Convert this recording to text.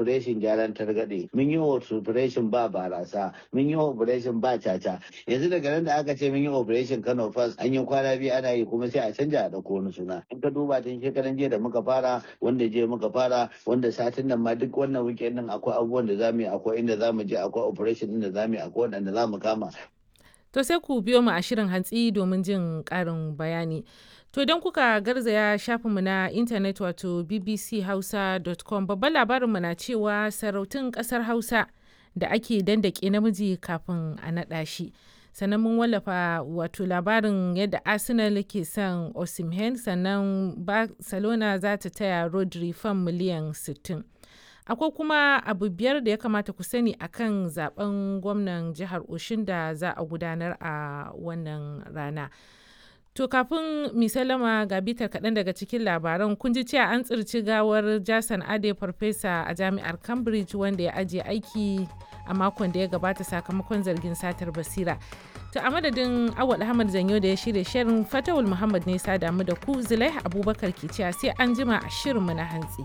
Operation gyaran targaɗe, mun yi operation ba barasa, mun yi operation ba caca. Yanzu daga nan da aka ce mun yi operation Kano First, an yi kwana 2 ana yi, kuma sai a canja a ɗauko wani suna. In ka duba tun shekaran jiya da muka fara, wanda jiya muka fara, wanda satin nan ma, duk wannan weekend din akwai abubuwan da zamu yi, akwai inda zamu je, akwai operation din da zamu yi, akwai waɗanda zamu kama. To sai ku biyo mu a shirin hantsi domin jin ƙarin bayani. To idan kuka garzaya shafinmu na intanet, wato bbchausa.com, babban labarinmu na cewa sarautun ƙasar Hausa da ake dandake namiji kafin a naɗa shi. Sannan mun wallafa wato labarin yadda Arsenal ke son Osimhen, sannan Barcelona za ta taya Rodri fam miliyan 60. Akwai kuma abu 5 da ya kamata ku sani akan zaben gwamnan jihar Oshun da za a gudanar a wannan rana. To kafin mi salama, ga bitar kaɗan daga cikin labaran. Kun ji cewa an tsirci gawar Jason Ade, farfesa a jami'ar Cambridge wanda ya ajiye aiki a makon da ya gabata sakamakon zargin satar basira. To a madadin Awal Ahmad Zanyo da ya shirya shirin, Fatawul Muhammad ne sa damu da ku, Zulaiha Abubakar ke cewa sai an jima a shirinmu na hantsi.